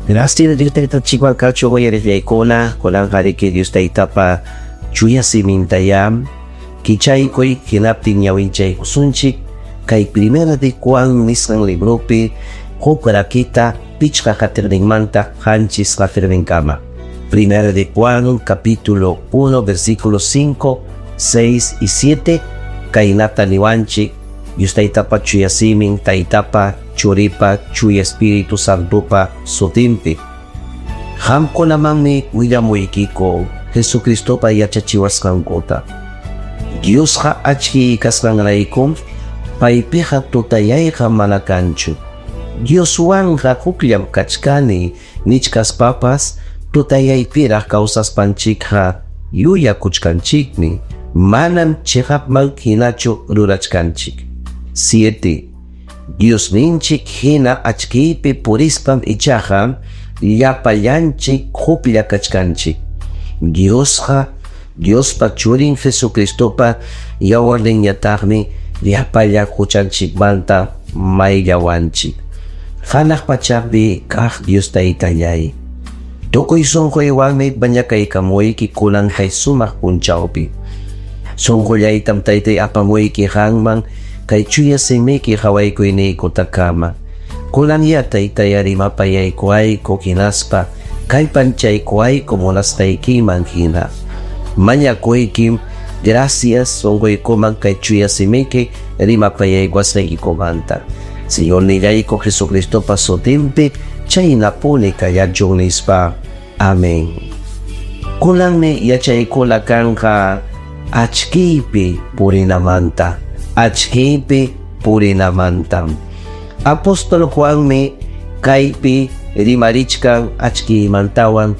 Gracias Dios Taytanchikwan kachun uyariqllaykuna, kunanqariki Dios Taytapa chuya simintayá kichaykuy hinaptin ñawinchaykusunchik kay Primera de Juan nisqan libropi huk rakita 5 qatiqninmanta 7 qatiqninkama. Primera de Juan capítulo 1 versículos 5, 6 y 7 kaynata niwanchik Dios Taytapa chuya simin, Taytapa, Churipa, Chuya Espíritu Santopa sutinpi. Qamkunamanmi willamuykiku Jesucristopa yachachiwasqankuta. Diosqa achkiy kasqanraykum paypiqa tutayayqa mana kanchu. Dioswanqa hukllam kachkani nichkaspapas tutayaypiraq kawsaspanchikqa yuyakuchkanchikmi, manam chiqapman hinachu rurachkanchik. 7. Diosninchik hina achkiypi purispam ichaqa llapallanchik huklla kachkanchik. Diosqa Diospa Churin Jesucristopa yawarninñataqmi llapallan huchanchikmanta mayllawanchik. Hanaq pachapi kaq Dios Taytallay, tukuy sunquywanmi mañakaykamuyki kunan kay sumaq punchawpi. Sunqullaytam Taytay apamuyki qanman kay chuya simiyki qhawaykuyniykutaqkama. Kunanya Taytay rimapayaykuwayku hinaspa kallpanchaykuwayku munasqaykiman hina. Mañakuykim gracias sunquykuman kay chuya simiyki rimapayaykuwasqaykikumanta. Señornillayku Jesucristopa sutinpi chaynapuni kallachun nispa. Amén. Kunanmi yachaykuna kanqa achkiypi purinamanta. Achkiypi purinamanta. Apóstol Juanmi kaypi rimarichkan achkiymantawan.